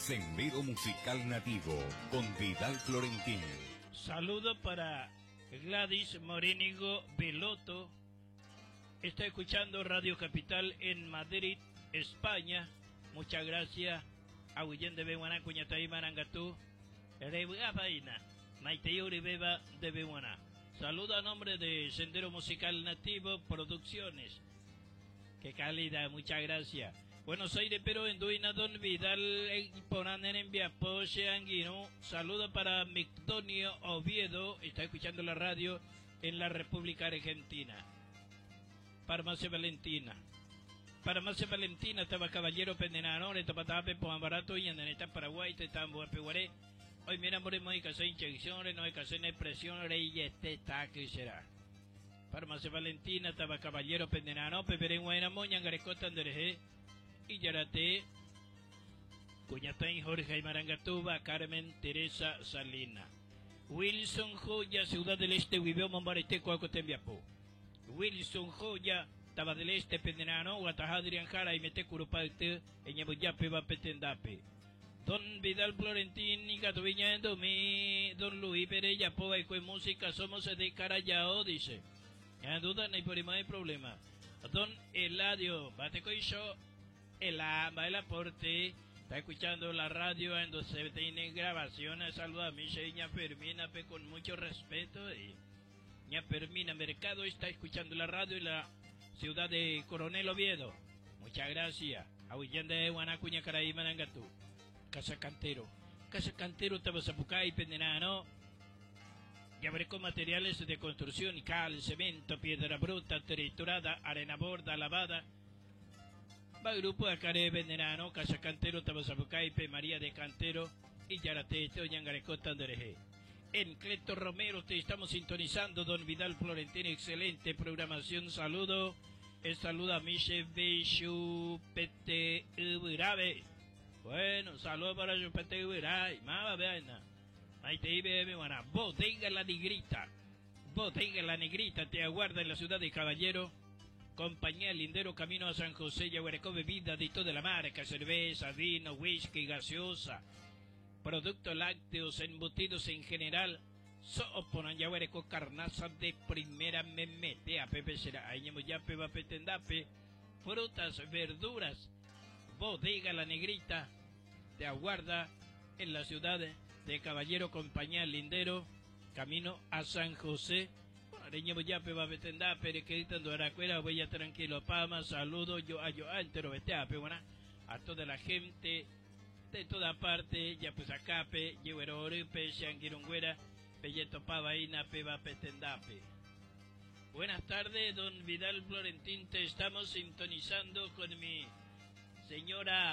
Sendero Musical Nativo con Vidal Florentín. Saludo para Gladys Morínigo Veloto. Está escuchando Radio Capital en Madrid, España. Muchas gracias. Aguillén de Beguaná, Cuñataí, Marangatú. Rebugafaina. Maiteyuri Beba de Beguaná. Saludo a nombre de Sendero Musical Nativo Producciones. Qué calidad, muchas gracias. Buenos Aires, pero en Duina, Don Vidal, Ponanen en Viapoche, Anguino. Saludo para Mictonio Oviedo, está escuchando la radio en la República Argentina. Farmacia Valentina. Farmacia Valentina, estaba Caballero Pendenano, Tapatape, Barato y Andaneta, Paraguay, Tetambo, Peguaré. Hoy mira, moremos y casé inyección, no hay casé presión, y este está que será. Farmacia Valentina, estaba Caballero Pendenano, Peperen Guayna Moña, Angarecota, Anderejé. Y Yarate, Cuñatán, Jorge Marangatuba, Carmen Teresa Salina. Wilson Joya, Ciudad del Este, Huibeo, Mombarete, Cuacotembiapó. Wilson Joya, Taba del Este, Pendenano, Guatajadrian Jara y Mete Curupate, Eñabuyape, Bapetendape. Don Vidal Florentín y Catoviña Endomí, Don Luis Perella, Poa y Música, somos de Carayao, dice. Ya duda, no hay por hay problema. Don Eladio, bate yo el AMBA, el aporte, está escuchando la radio en donde se tiene grabaciones. Saluda a mi seña Fermina pe, con mucho respeto. Y ña Fermina Mercado está escuchando la radio en la ciudad de Coronel Oviedo. Muchas gracias. Ahuillende de Guanacuña, Caraí, Manangatú. Casa Cantero. Casa Cantero, Tabazapucay, Pendenano. Ya con materiales de construcción, cal, cemento, piedra bruta, triturada, arena borda, lavada. Va grupo Acare Venderano, Casa Cantero, Tabazapucaipe, María de Cantero y Yarate, Oñangarecota, Andereje. En Cleto Romero te estamos sintonizando, don Vidal Florentín, excelente programación, saludo. El saludo a Miche Beshu Pete Ubirabe. Bueno, saludo para Chupete Ubirabe. Mama, vean. Ahí te iba, buena. Bodega La Negrita. Bodega La Negrita te aguarda en la ciudad de Caballero. Compañía Lindero Camino a San José, Yaguarecó, bebida de toda la marca, cerveza, vino, whisky, gaseosa, productos lácteos, embutidos en general. Sooponan Yaguarecó, carnaza de primera me mete a Pepe será, ahí ya va petendape, frutas, verduras, bodega La Negrita, te aguarda en la ciudad de Caballero, Compañía Lindero, Camino a San José. Areña Boyape va betenda perequerita Aracuera, voy a tranquilo Pama, saludo yo a yo entero vete buena a toda la gente de toda parte, ya pues acape, yehuero orupe, xanguirungüera, pelleto pavaina, peba petendape. Buenas tardes, don Vidal Florentín, te estamos sintonizando con mi señora.